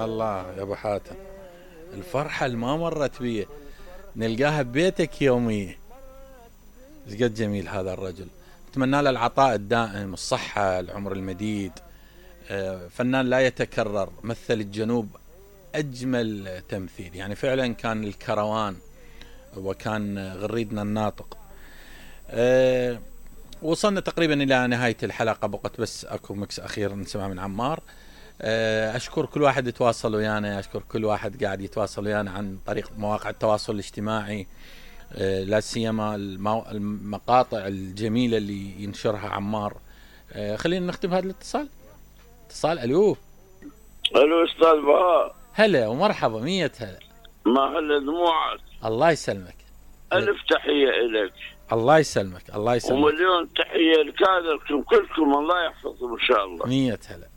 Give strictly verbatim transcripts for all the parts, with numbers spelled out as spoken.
الله يا ابو حاتم، الفرحة اللي ما مرت بيه نلقاها ببيتك يومية. ايش قد جميل هذا الرجل، اتمنى له العطاء الدائم، الصحة، العمر المديد. فنان لا يتكرر، مثل الجنوب اجمل تمثيل، يعني فعلا كان الكروان وكان غريدنا الناطق. أه وصلنا تقريبا الى نهاية الحلقة، بقت بس اكو مكس اخير نسمع من عمار. أه اشكر كل واحد يتواصل ويانا، اشكر كل واحد قاعد يتواصل ويانا عن طريق مواقع التواصل الاجتماعي، أه لا سيما المقاطع الجميلة اللي ينشرها عمار. أه خلينا نختم هذا الاتصال. اتصال. الو الو استاذ بهاء، هلا ومرحبا، مية هلا. ما هلا دموعك. الله يسلمك، الف تحيه الك. الله يسلمك، الله يسلمك، ومليون تحيه لكادركم كلكم، الله يحفظكم ان شاء الله. مية هلا.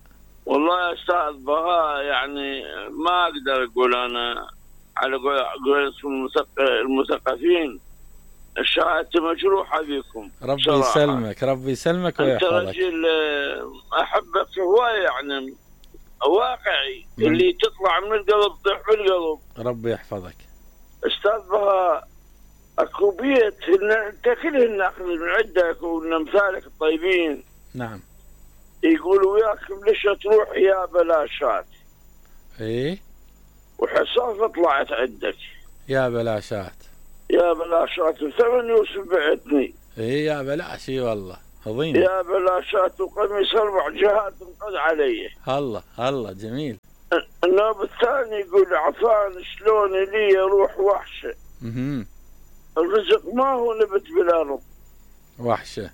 والله يا استاذ بهاء، يعني ما اقدر اقول انا على قولتهم المثقفين، شهادتي مجروحه بكم. ربي صراحة يسلمك، ربي يسلمك ويحفظك. انت رجل احبك هوايه، يعني واقعي، م. اللي تطلع من القلب تطيح في القلب. ربي يحفظك. استاذ بهاء، اكو بيت انت كلهن ناخذ من عندك ومن امثالك الطيبين. نعم. يقولوا وياكم ليش تروح يا بلاشات. ايه. وحصافه طلعت عندك يا بلاشات، يا بلاشات، وثمن يوسف بعتني. ايه يا بلاش، اي والله عظيم. يا بلاشات وقميص اربع جهات انقض علي. الله الله جميل. النوب الثاني يقول عفان شلون لي روح وحشه. اها. الرزق ما هو نبت بالارض. وحشه.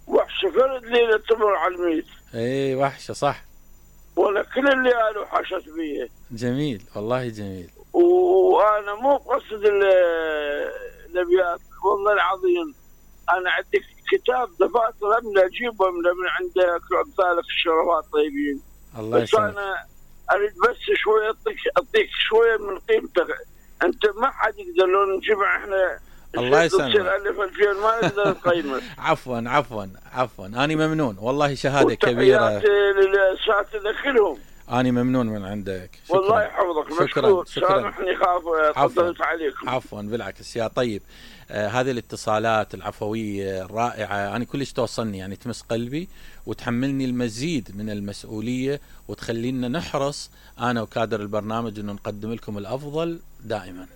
وحشه فرد ليله تمر على الميت. ايه وحشه صح. ولا كل اللي قالوا حشت بيه. جميل والله جميل. وانا مو قصد الابيات، والله العظيم انا عندي كتاب دفاتر املا اجيبه من عندك وامثالك الشرفاء الطيبين. الله بس يسلمك. انا اريد بس شويه اعطيك اعطيك شويه من قيمتك، انت ما حد يقدر لو نجمع احنا. الله يسلمك. ألف ألفين ما نقدر نقيمك. عفوا عفوا عفوا، أنا ممنون والله، شهادة كبيرة. للأساتذة كلهم. أنا ممنون من عندك. شكرا. والله يحفظك. شكرا شكرا. سامحني خاف طولت عليكم. عفوا بالعكس يا طيب. آه هذه الاتصالات العفوية الرائعة أنا كلش توصلني، يعني تمس قلبي وتحملني المزيد من المسؤولية، وتخلينا نحرص أنا وكادر البرنامج أنه نقدم لكم الأفضل دائما.